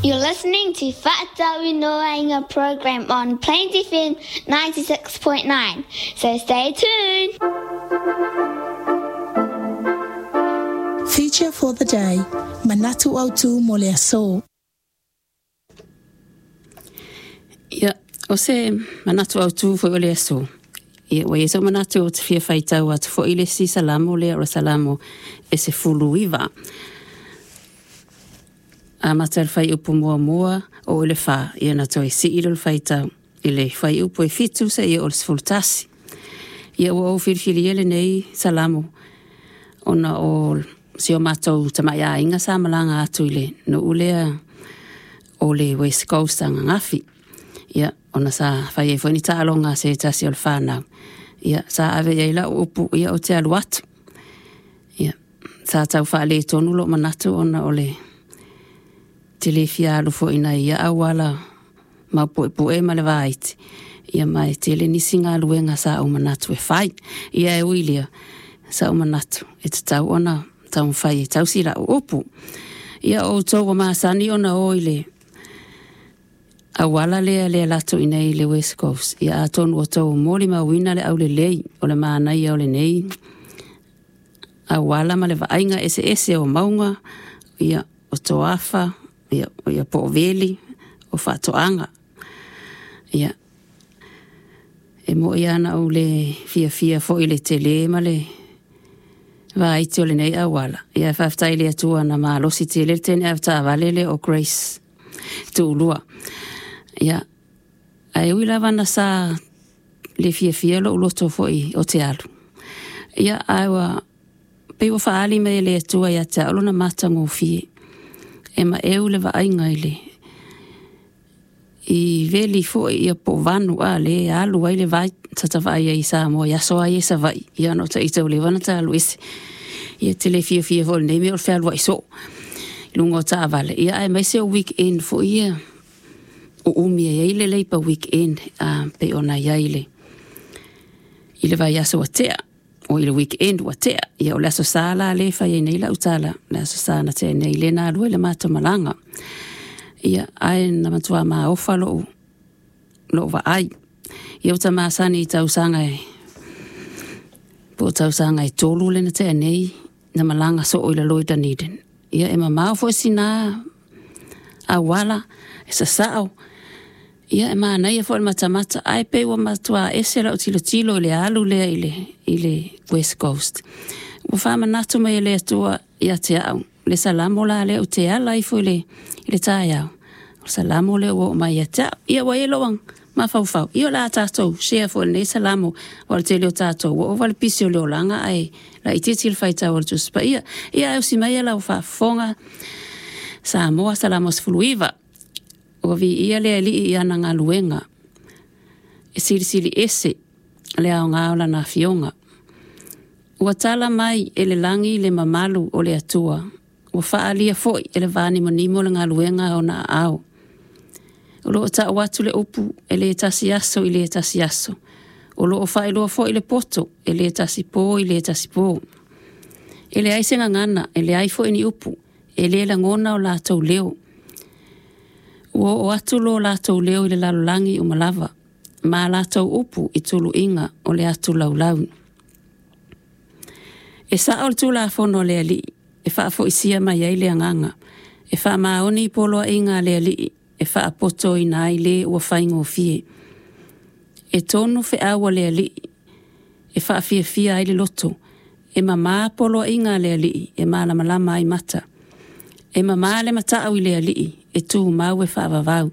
You're listening to Fa'atauinoaina program on Plains FM 96.9, so stay tuned. Feature for the day, Manatu Autu mo le aso. Ia, o se manatu autū foi o le aso. Ia, ua i ai sou manatu ou te fia faitau atu foi i le isi Salamo lea o le Salamo e 19. Amata i le fuaiupu muamua oo i le fa, ia ona toe sii lea o le faitau i le fuaiupu e 7 seia oo i le 11. Ia ua ou filifilia lenei Salamo ona o si o matou tamai aiga sa malaga atu i le nuu lea o le West Coast ananafi. Ia, ona sa fai ai foi ni taaloga a se tasi o le fanau. Ia, sa ave i ai lau upu, ia ou te alu atu. Ia, sa tau faaletonu lou manatu ona o le te le fia alu foi i nai ia auala maupuepue ma le vaiti, ia ma e tele nisi galuega sa ou manatu e fai. Ia e ui i lea, sa ou manatu e tatau ona taumafai e tausi lau upu. Ia o outou ua masani ona o i le auala lea le alu atu i inei i le West Coast, ia atonu ua outou molimauina le aulelei o le manaia o lenei auala ma le vaaiga eseese o mauga, ia, o toafa, ia, ia po o veli, o faatoaga. Ia, e moni lava na ou le fiafia foi i le tele ma le vaiti o lenei auala, ia ae faafetai i le Atua na malosi tele le teine avetaavale lea o Grace Tuulua. Ia, ae ui lava na sa le fiafia lou loto foi o te alu, ia, ae ua pei ua faaali mai e le Atua ia te au lona matagofie, e maeu le vaaiga i le i veli foi ia po o vanu a le alu ai le vai sa ta vaai ai i Samoa i aso lava ia i Savaii, ia ona o ita ua leva ona ta alu ese. Ia te le fiafia foi i lenei mea o le fealuai soo i luga o taavale, ia aemaise o weekend foi ia uumi ai ai le Labour Weekend pei ona i ai i le vaiaso ua tea, o i le weekend ua tea. Ia o le Aso Sa la lea e fai ai nei lau tala, le Aso Sa na tea nei, lea na alu ai le matou malaga. Ia, ae na matua maofa lou, lou vaai. Ia ua ta masani i tausaga e, po o tausaga e tolu lea na tea nei, na malaga soo i lalo i Dunedin. Ia e mamao foi sina auala, e sasao, ia e manaia foi le matamata, ae pei ua matua ese lau tilotilo i le alu lea i le, i le West Coast. Ua faamanatu mai e le Atua ia te au, le Salamo la lea ou te ala ifo i le, i le taeao, o le Salamo lea ua oo mai ia te au. Ia ua i ai lou mafaufau, ia o le a tatou share foi i lenei Salamo, aua o le tele o tatou ua ova le pisi o le olaga ae laitiiti le faitau a le Tusi Paia. Ia ae usi maia lau faafofoga, Samoa Salamo 19. Ua viia le Alii i ana galuega, e silisili ese le aoga o lana afioga. Ua tala mai e le lagi le mamalu o le Atua, ua faaalia foi e le vanimonimo le galuega a ona aao. O lo o tau atu le upu e le tasi aso i le tasi aso, o lo o faailoa foi le poto e le tasi po i le tasi po. E leai se gagana, e leai foi ni upu, e le lagona o latou leo. Ua oo atu lo latou leo i le lalolagi uma lava, ma a latou upu i tuluiga o le atu laulau. E sao le Tulafono a le Alii e faafoisia mai ai le agaga, e faamaoni i poloaiga a le Alii e faapotoina ai le ua faigofie. E tonu feau a le Alii e faafiafia ai le loto, e mama poloaiga a le Alii e malamalama ai mata. E mama le matau i le Alii e tumau e faavavau.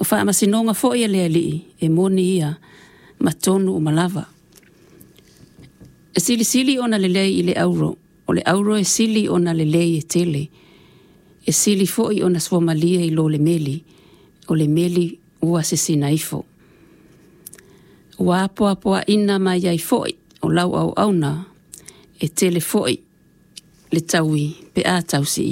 O faamasinoga foi a le Alii e moni ia ma tonu uma lava. E silisili ona lelei i le auro, o le auro e sili ona lelei e tele. E sili foi ona suamalie i lo le meli, o le meli ua sesina ifo. Ua apoapoaiina mai ai foi o lau auauna, e tele foi le taui pe a tausi i.